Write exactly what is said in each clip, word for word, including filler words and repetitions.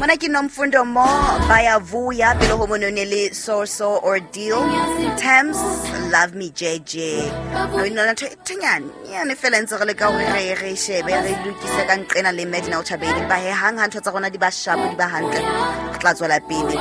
Mona ke Nomfundo Mo Bayavuya, pele ho monone le So So Ordeal, Thames Love Me J J. No ina ntho e thenyane nyane fela ntse re le ka hore re re shebe re lokise ka nqena le Medina o Chabedi ba he hang ha ntho tsa rona di ba sharp di ba hantle re tla tswela pele.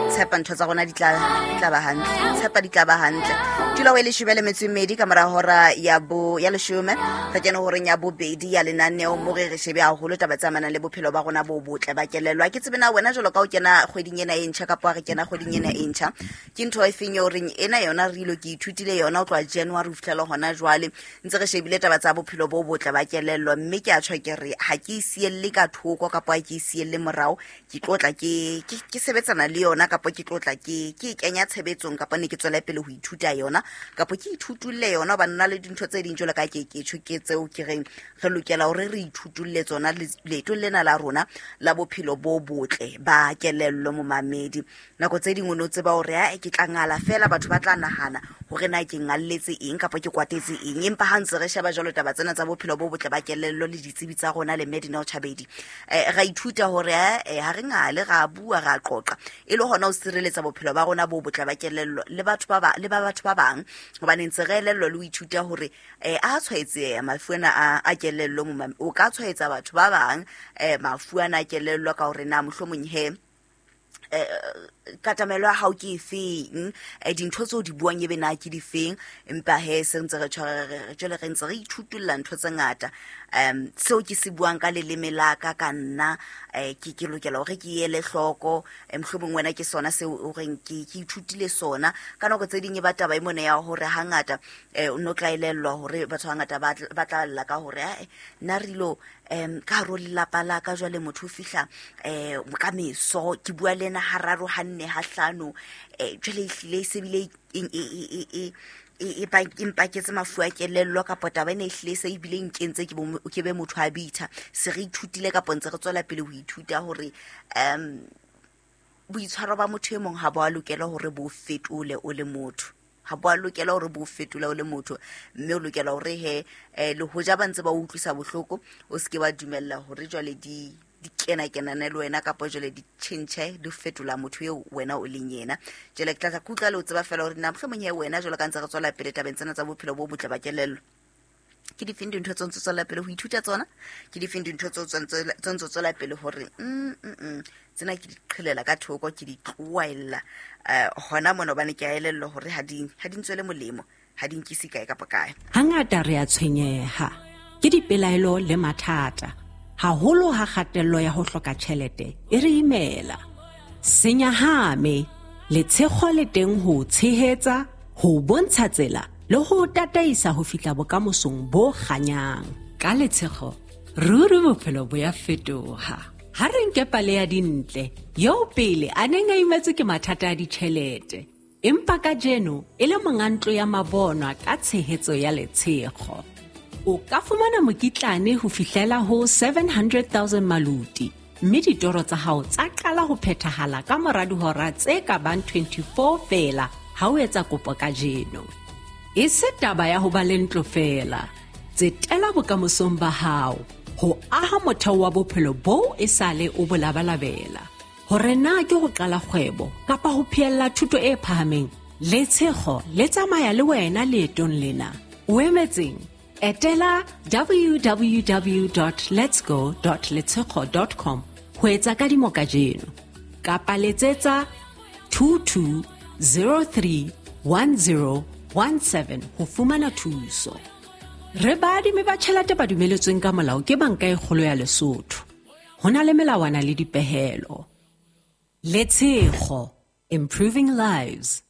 Tshepa ntho tsa rona di tla di tla ba hantle, tshepa di tla ba hantle. Tula o e leshome le metso e mmedi ka mora hora ya bo ya leshome re kene horeng ya bobedi ya lenaneo mo re re shebe haholo taba tse amanang le bophelo ba rona bo botle ba kelello. Ha ke tsebe na wena jwalo ka o kena kgweding ena e ntjha kapa re kena kgweding ena e ntjha, ke ntho e feng eo reng ena yona re ilo ke ithutile yona ho tloha January ho fihlela hona jwale ntse re shebile taba tsa bophelo bo botle ba kelello, mme ke a tjho ke re ha ke e sielle ka thoko kapa ha ke e sielle morao, ke tlo tla ke ke ke sebetsana le yona kapa ke tlo tla ke ke e kenya tshebetsong kapa ne ke tswele pele ho ithuta yona kapa ke ithutulle yona hobane nna le dintho tse ding jwalo ka ke ke tjho ke tseo ke reng re lokela hore re ithutulle tsona leetong lena la rona la bophelo bo botle ba kelello. Momamedi, nako tse ding o no tseba hore ae ke tla ngala fela batho ba tla nahana hore na ke ngalletse eng kapa ke kwatetse eng, empa ha ntse re sheba jwalo taba tsena tsa bophelo bo botle ba kelello le ditsebi tsa rona le Medina o Chabedi, eh ra ithuta hore eh ha re ngale ra bua ra qoqa e le hona ho sireletsa bophelo ba rona bo botle ba kelello le batho ba ba le ba batho ba bang, hobane ntse re elellwa le ho ithuta hore eh a tshwaetseha mafu ana a a kelello momame o ka tshwaetsa batho ba bang eh mafu ana a kelello ka hore na mohlomong he eh katamelo ya hao ke efeng, eh dintho tseo di buang ebe na ke difeng, empa he se ntse re tshware re jwale re ntse re ithutulla ntho tse ngata. Um seo ke se buang ka leleme la ka ka nna eh ke ke lokela hore ke ele hloko, mohlomong wena ke sona seo o reng ke ke ithutile sona. Ka nako tse ding e ba taba e mona ya hore hangata eh o no tla elellwa hore batho hangata ba ba tla lla ka hore ae nna re ilo um ka hare ho lelapa la ka jwale motho o fihla eh ka meso ke bua le ena hararo hanne ha hlano eh jwale ehlile e se bile e e e e e e mpaketse mafu a kelello kapa taba ena ehlile se ebile nkentse ke bo ke be motho a bitha. Se re ithutile kapa ntse re tswela pele ho ithuta hore um boitshwaro ba motho e mong ha bo a lokela hore bo fetole o le motho, ha bo a lokela hore bo fetole o le motho, mme o lokela hore he eh le hoja ba ntse ba utlwisa bohloko o seke wa dumella hore jwale di di kena kenane le wena kapa jwale di tjhentjhe di fetola motho eo wena o leng yena. Jwale ke tla kutlwa le o tseba fela hore na mohlomong he wena jwalo ka ntse re tswela pele tabeng tsena tsa bophelo bo botle ba kelello, ke difeng dintho tse ntse tswela pele ho ithuta tsona, ke difeng dintho tse tse ntse tswela pele hore mm mm tsena ke di qhelela ka thoko ke di tloaella eh hona mona hobane ke a elellwa hore ha di ha di ntswele molemo, ha di nkise kae kapa kae. Hangata re a tshwenyeha ke dipelaelo le mathata, haholo ha kgatello ya ho hloka tjhelete e re imela. Senyahame, letshego le teng ho tshehetsa, ho bontsha tsela le ho tataisa ho fihla bokamosong bo kganyang. Ka letshego, ruri bophelo bo ya fetoha. Ha re nke pale ya Dintle, eo pele a neng a imetswe ke mathata a ditjhelete, empa kajeno e le monga ntlo ya mabonwa ka tshehetso ya letshego. O ka fumana mokitlane ho fihlela ho seven hundred thousand maluti, mme ditoro tsa hao tsa qala ho phethahala ka mora dihora tse ka bang twenty-four feela ha o etsa kopo kajeno. E se taba ya ho ba le ntlo feela, tsetela bokamosong ba hao ho aha motheo wa bophelo boo e sale o bo labalabela. Hore na ke ho qala kgwebo kapa ho phehella thuto e phahameng, letshego le tsamaya le wena leetong lena. O emetseng? Etela w w w dot letsgo dot letshego dot com ho etsa kadimo kajeno kapa letsetsa two two zero three one zero one seven ho fumana thuso. Re baadimi ba tjhelete ba dumeletsweng ka molao ke Banka e Kgolo ya Lesotho. Ho na le melawana le dipehelo. Letshego, improving lives.